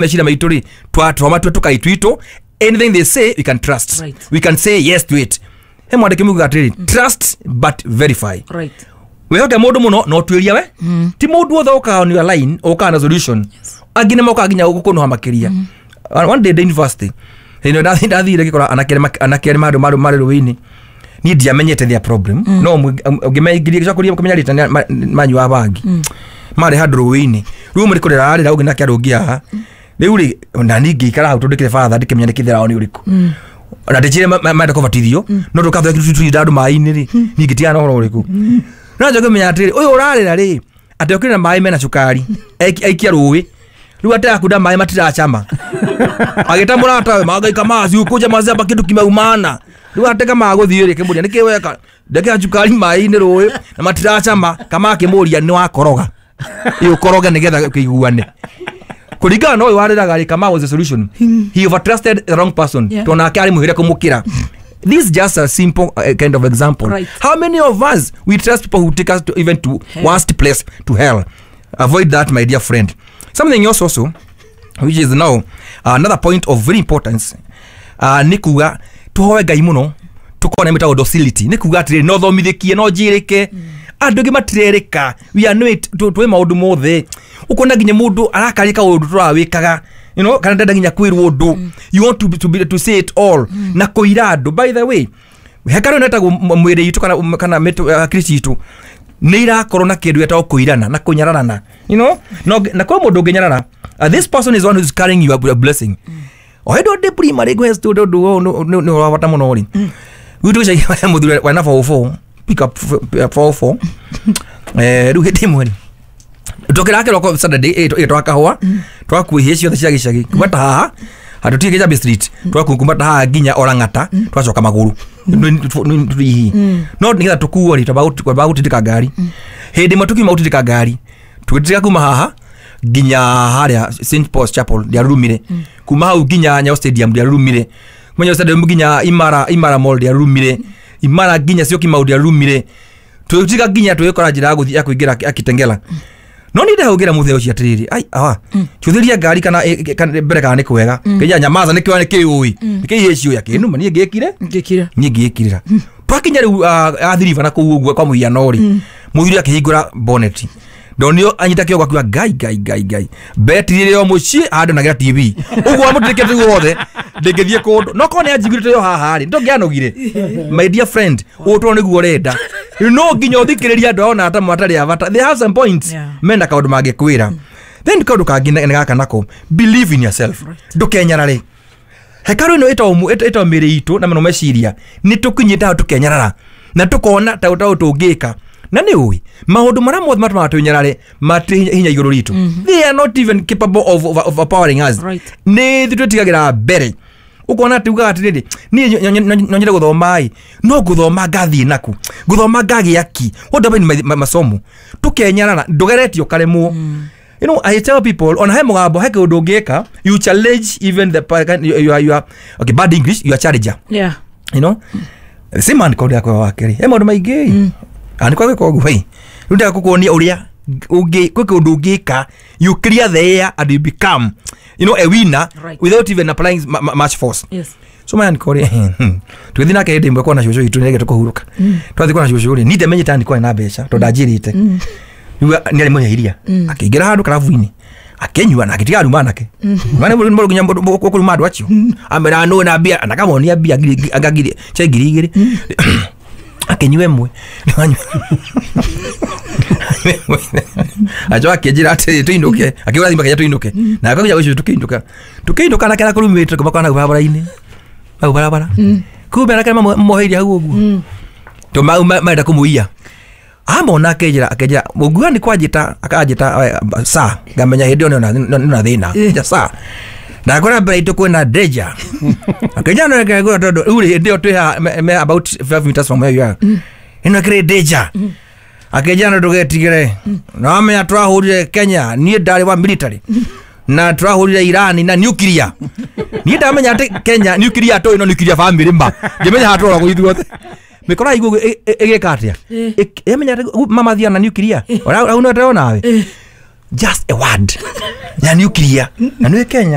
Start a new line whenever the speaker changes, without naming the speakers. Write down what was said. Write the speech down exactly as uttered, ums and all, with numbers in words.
Meciria maitũ rĩ, twatua matua tũkaitwitũ, anything they say we can trust.
Right.
We can say yes to it. He mwandĩki mugaga atĩrĩrĩ, "Trust but verify."
Right.
Wĩhoke mũndũ mũno no tuĩria we ti mũndũ wothe ũkaga on your line ũkaga na solution. Angĩ nĩ mokaga nginya gũkũnũha makĩria. One day ndĩ university, hĩndĩ ĩyo ndathire ngĩkora anake arĩa anake arĩa marĩ marĩ marĩ rũĩ-inĩ. Niĩ ndiamenyete their problem, no ũngĩmengirie gĩcoka kũmenya rĩta manyua bangi marĩ handũ rũĩ-inĩ. Rĩu ũmwe nĩ kũrĩra arĩra, ũngĩ nake arũngi haha. Rĩu rĩ, na niĩ ngĩikara hau tondũ ndĩkĩrĩ batha, ndĩkĩmenya nĩ kĩthera nĩ ũrĩkũ na ndĩchire menda kũbatithio, no ndũkathwe turinda andũ maĩ-inĩ rĩ, niĩ ngĩtigana na ũhoro ũrĩkũ. No njoke kũmenya atĩrĩrĩ, ũyũ ũrarĩra rĩ, atĩ okire na maĩ mena cukari aikia rũĩ, rĩu aterakunda maĩ matiracama, agĩta mũratawe magaika maci ukuje macamba kĩndũ kimeumana. Rĩu ateka magũthiĩ rĩ, kĩmũria nĩkĩ weka ndekera cukari maĩ-inĩ rũĩ na matiracama. Kama akĩmũria nĩ wakoroga ĩ ũkoroge nĩgetha kĩiguane kũringana na ũyũ warĩraga rĩ. Kama was the solution, he overtrusted the wrong person.
Yeah.
Tondũ nake arĩ mũhĩre kũmũkĩra. This is just a simple uh, kind of example.
Right.
How many of us, we trust people who take us to even to
hell,
worst place, to hell? Avoid that, my dear friend. Something else also, which is now uh, another point of very importance, uh, nĩ kuga tũhoe Ngai mũno tũkorwo na mĩtagwo docility. Nĩ kuga atĩrĩrĩ, no thomithĩkie no njĩrĩke. Andũ angĩ matirerĩka. We are not twĩ maũndũ mothe. Ũkona nginya mũndũ arakaria kaũndũ tũrawĩkaga, you know kana ndenda nginya kwĩrwo ũndũ. You want to, be, to, be, to say it all na kũira andũ. By the way, hekarũ ĩno ĩtagwo mwĩrĩ itũ kana kana mĩtũ- hakiri citũ nĩ irakorwo na kĩndũ gĩtagwo kũirana na kũnyararana you know no, na kwĩ mũndũ ũngĩnyarara, uh, this person is one who is carrying you a blessing. O hĩndĩ ndĩ primary ngwe ũndũ ũyũ nĩ wa bata mũno rĩ, gwitũ gĩcagi mũthuri wena four oh four, pick up four oh four. eh rĩu hĩndĩ ĩmwe rĩ, tũkĩra kĩroko Saturday ĩ twakahũa twakuihie ciothe cia gĩcagi kuma ta haha handũ tige Jambi Street, twaku kuma ta haha nginya Orang'ata, twacoka magũrũ tũihi no nĩgetha tũkuo rĩ, twamba gũtindĩka ngari. Hĩndĩ ĩmwe tũkiuma gũtindĩka ngari, tũgĩtindĩka kuma haha nginya harĩa Saint Paul's Chapel, ndiarurumire. Kuma hau nginya Nyayo Stadium, ndiarurumire. Kuma Nyayo Stadium nginya Imara Imara Mall, ndiarurumire. Imara nginya Syokimau, ndiarurumire. Tũgĩtiga nginya tũgĩkora njĩra ya gũthiĩ ya kũingĩra Akitengela. No nĩ ndahũngĩra mũthee ũcio atĩrĩrĩ, ai awa cũthĩria ngari kana ĩ- kana mbere kana nĩ kwega kĩnja nyamaza nĩ kĩo nĩ kĩũĩ nĩ kĩihĩ ciũya kĩnuma niĩ ngĩkire.
Ngĩkire.
Niĩ ngĩkirĩra. Twakinya rĩu athiriba na kũu ũguo kwa mũhiano rĩ, mũthuri akĩhingũra bonnet, ndonio anyita kĩongo akiuga, "Ngai, Ngai, Ngai, Ngai, betiri ĩrĩ o mũciĩ handũ nagĩra T V ũguo amũtĩkĩte guothe ndĩngĩthiĩ kũndũ." No korwo nĩ anjiguĩte yo haha rĩ, ndũngĩanogire. My dear friend, ũtũrwo nĩguo ũrenda. Rĩu no nginya ũthikĩrĩrie andũ ona ata matarĩ a bata. They have some points.
Yeah.
Mena kaũndũ mangĩkwĩra. Then kaũndũ kangĩ nĩ gaka nako, believe in yourself, ndũkenyarare. Hekarũ ĩno ĩtagwo ĩtagwo mĩĩrĩ itũ na mũno meciria nĩ tũkinyĩte hau tũkenyarara na tũkona ta ta tũngĩka. Na nĩ ũĩ maũndũ marĩa mothe matũmaga twĩnyarare matirĩ hinya igũrũ ritũ. They are not even capable of, of, of overpowering us.
Right.
Nĩ ithuĩ twĩtigagĩra mbere. Ũkona atĩ ugaga atĩrĩrĩ, niĩ no nyende gũthoma ĩ, no ngũthoma ngathiĩ naku ngũthoma ngagĩa ki? What about ma- ma- masomo? Tũkenyarara, ndũgeretie ũkaremwo. You know, I tell people, on he mũgambo he kĩũndũ ũngĩka, you challenge even the pa- you, you are, you are, okay, bad English, you are challenger.
Yeah.
You know same man kodi yakwa wa kerĩ he maũndũ maingĩ mm. Nĩ kwagĩka ũguo ĩ, rĩu ndĩrenda gũkuonia ũrĩa ũngĩ kwĩ kĩũndũ ũngĩka, you clear the air and you become you know a winner
Right.
without even applying ma- ma- much force.
Yes.
So maya nikore tũgĩthiĩ nake hĩndĩ ĩmwe kuona cũcũ witũ nĩrĩge tũkũhurũka. Twathiĩ kuona cũcũ rĩ, niĩ ndiamenyete nĩ kwarĩ na mbeca tondũ ndanjĩrĩte. Rĩu nĩ arĩ mũnyairia, akĩingĩra handũ karabu-inĩ akĩnyua na agĩtiga aruma anake nginya kũruma andũ acio amera nũ na mbia na akamonia mbia ngiri anga ngiri cia ngiri igĩrĩ, akĩnyua ĩmwe, acoka akĩnjĩra atĩrĩ tũinũke, akĩgũra thimũ akĩnjĩra tũinũke na akauga ũcio tũkĩinũka tũkĩinũka nake na kũrumĩte kũmakona hau barabara-inĩ, hau barabara kumbe anake mamoheirie hau ũguo to marenda kũmũiya. Amona akĩnjĩra akĩnjĩra mũnguga nĩ kwanjĩta akanjĩta eh, sa ngamenya hĩndĩ ĩyo nĩ na thĩna nja sa ndakora mbere itũ kwĩna danger. Akĩnjĩra no reke ngũra tondũ rĩu rĩ, hĩndĩ ĩyo twĩ haha me- me about five meters from where you are, ĩno ĩkĩrĩ danger. Akĩnjĩra no ndũgetigĩre, na wamenya twahũrire Kenya, niĩ ndarĩ wa military na twahũrire Irani na nuclear. Niĩ ndamenya atĩ Kenya nuclear tũĩ no nuclear family ma ngĩmenya haha tũragwo ithuothe mĩkora iguo ĩgĩka atĩa. Ĩmenya atĩ mama thia na nuclear hau no ndĩrona nawe. Just a word ya nuclear na nĩ Kenya.